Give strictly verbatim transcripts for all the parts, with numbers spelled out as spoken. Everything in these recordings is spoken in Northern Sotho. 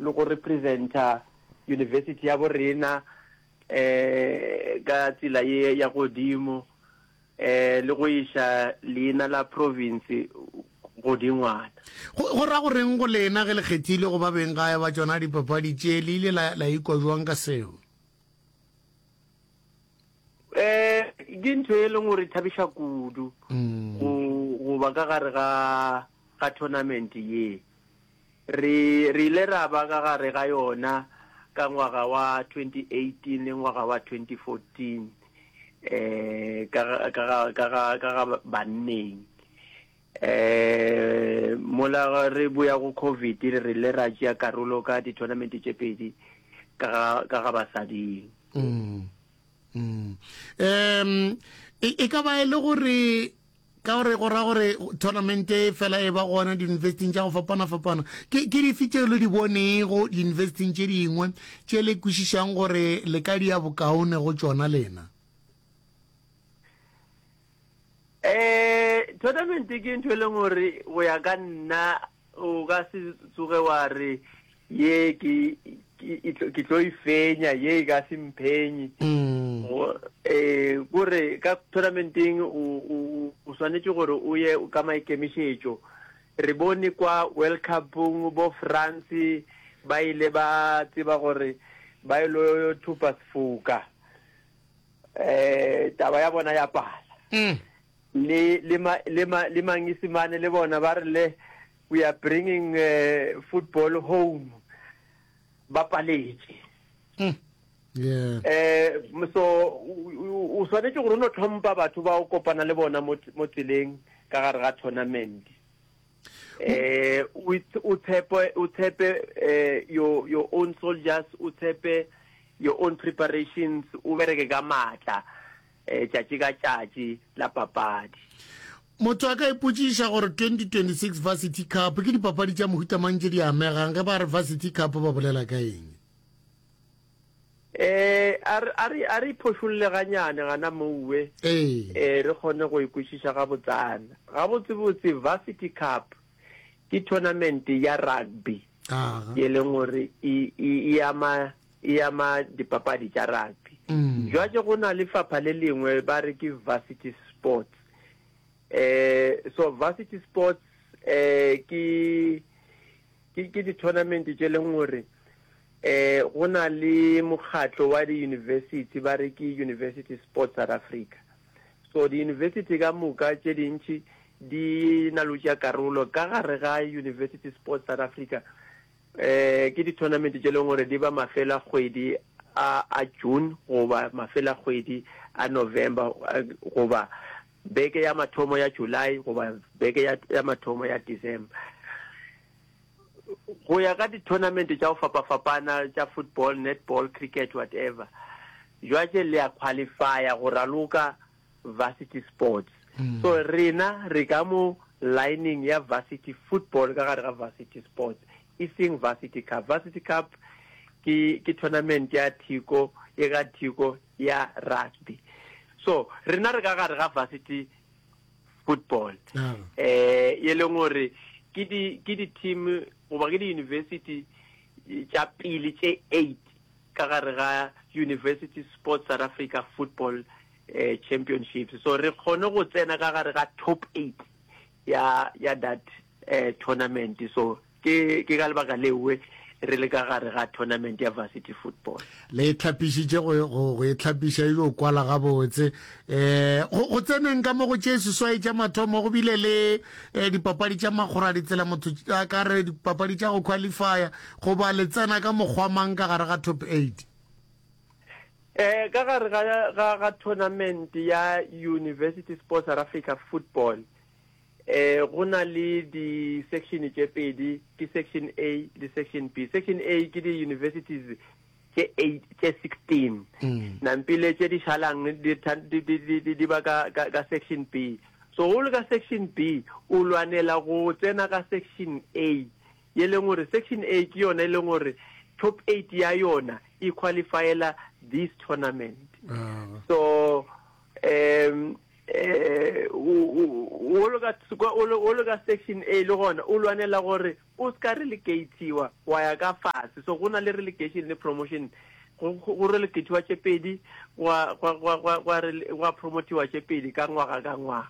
le go representa university ya bo rena um ka tsela ye ya godimo um le go iša leina la province godingwana. Go, go ra goreng go lena ge le kgethile go ba beng gae ba tšona dipapadi tše? Le ile la, la ikwa jwang ka seo? Um ke ntho e leng gore e thabiša kudu go, go ba ka gare ga, ga tournament ye. Re, re ile ra ba ka gare ga yona ka ngwaga wa twenty eighteen le ngwaga wa twenty fourteen um ka ga, ka ga, ka ga, ka ga banneng. Um mola re boya go COVID re ile ra tšea karolo ka di-tournament tše pedi ka ga, ka ga basading. Mm. Mm. Um e, e ka ba e le gore ka gore go ra gore tournament e fela e ba gona di-universityng tša go fapana-fapana, ke ke dife tše le di bonego di-universityng tše dingwe tše le kwešišang gore le ka dia bokaone go tšona lena? Um tournament ke ntho e leng gore go ya ka nna o ka se tsoge wa re ye ke ke tlo e fenya, ye e ka se mphenye. Eh kore ka tournamenteng o o o swanetše gore o ye ka maikemišetšo. Re bone kwa World Cupong bo France ba ile ba tseba gore ba ilo thopa sefoka, eh taba ya bona ya pala. Le le ma le ma le Mangisimane le bona ba re le we are bringing uh, football home, ba paletše. Yeah. Eh so o o swanetše gore o no tlhompha batho ba o kopana le bona mo mo tseleng ka gare ga tournament. Eh o o tshepe o tshepe eh your your own soldiers, o tshepe your own preparations, o bereke ka matla eh tšatši ka tšatši la papadi. Motho a ka ipotšiša gore twenty twenty-six Varsity Cup ke dipapadi tša mohuta mang tše di amegang? Ge ba re Varsity Cup ba bolela ka eng? Eh a re a re a re iphošolle ganyane gana mouwe, Ee. eh re kgone go e kwešiša gabotsana. Gabotsebotse Varsity Cup ke tournament ya rugby Aga. ye leng gore e e e ama e ama dipapadi tša rugby. Mm. Jwale go na lefapha le lengwe ba re ke Varsity Sports. Eh so Varsity Sports eh ke ke ke di-tournament tše leng gore eh go na le mokgatlo wa di-university ba re ke University Sports South Africa. So di-university ka moka tše dintši di na le go tšea karolo ka gare ga University Sports South Africa. Eh ke di-tournament tše leng gore di ba mafela kgwedi a a June goba mafela kgwedi a November goba beke ya mathomo ya July goba beke ya ya mathomo ya December. Go ya ka di-tournament tša go fapafapana tša football, netball, cricket, whatever. Jwale le ya qualifya go raloka Varsity Sports. So rena re ka mo lining ya Varsity Football ka gare ga Varsity Sports, e seng Varsity Cup. Varsity Cup ke ke tournament ya thiko e ga thiko ya rugby. So rena re ka gare ga Varsity Football. Ah. Eh e leng gore ke di ke di team goba ke di university tša pele tše eight ka gare ga University Sports South Africa Football eh, Championships. So re kgone go tsena ka gare ga top eight ya ya that eh, tournament. So ke ke ka lebaka lewe re le ka gare ga tournament ya Varsity Football. Le e tlhapišitše go go go e tlhapiša e yo kwala gabotse. Eh go go tseneng ka mo go tše seswai tša mathomo go bile le eh, dipapadi tša magora ditsela, motho a ka re dipapadi tša go qualifya, goba le tsena ka mokgwa mang ka gare ga top eight? Eh ka gare ga ga ga tournament ya University Sports South Africa Football eh go na le di section tše pedi, ke section A le section B. Section A ke di universities tše eight tše sixteen, nampile tše di šalang di di di di di ba ka ka ka section B. So go le ka section B o lwanela go tsena ka section A, ye leng gore section A ke yona e leng gore top eight ya yona e qualifyela this tournament. Ah. So um Eh o o ka o ka section A le gona o lwanela gore o ska relegatiwa wa ya ka fase. So go na le relegation le promotion, go go relegatiwa tše pedi, gwa gwa gwa gwa gwa gwa promotiwa tše pedi ka ngwaga ka ngwaga.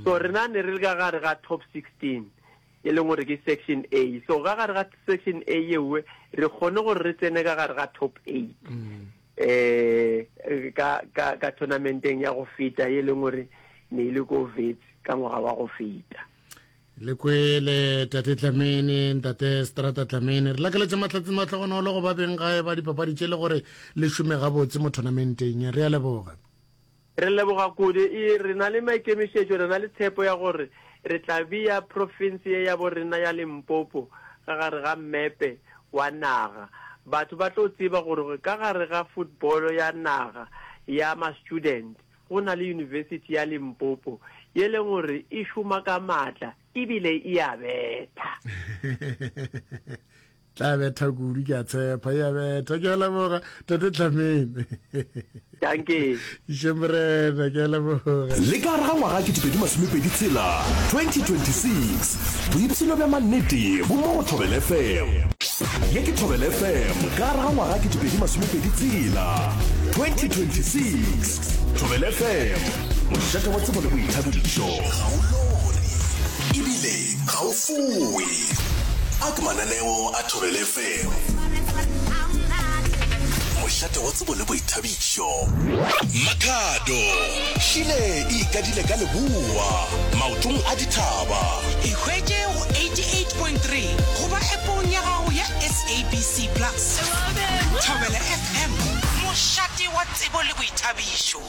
So rena ne re le ka gare ga top sixteen, e leng gore ke section A. So ka gare ga section A yewe re kgone gore re tsene ka gare ga top eight eh ka ka ka tournamenteng ya go feta, e leng gore ne ile ko Wits ka ngwaga wa go feta. Le kwele tate Tlamene, ntate Strata Tlamene, re lakeletše mahlatse matlhogonolo go ba beng gae ba dipapadi tše le gore le šome gabotse mo tournamenteng. Re a leboga. Re leboga kudu. E re na le maikemišetšo, re na le tshepo ya gore re tla bea province ye ya bo rena ya Limpopo ka gare ga mmepe wa naga. Batho ba tlo tseba gore ka gare ga football ya naga ya ma-student go na le University ya Limpopo ye leng gore e šoma ka maatla ebile e a betha. Tla betha kudu, ke a tshepa e a betha. Ke a leboga, tate Tlamene. Dankie. Iše morena, ke a leboga. Le ka gare ga ngwaga ketepedi masomepedi tshela, twenty twenty-six, boipshino bja mannete bo mo go Thobela F M. Ye ke Thobela F M ka gare ga ngwaga ketepedi masomepedi tshela, twenty twenty-six. Thobela F M, mošate wa tsebo le boithabišo. Ga o lore ebile ga o fowe, a ke mananeo a Thobela F M, mošate wa tsebo le boithabišo. Makhado šile e ikadile ka leboa maotong a dithaba. Ikhwetše go eighty-eight point three goba appong ya gago ya S A B C Plus. Thobela F M, mošate wa tsebo le boithabišo.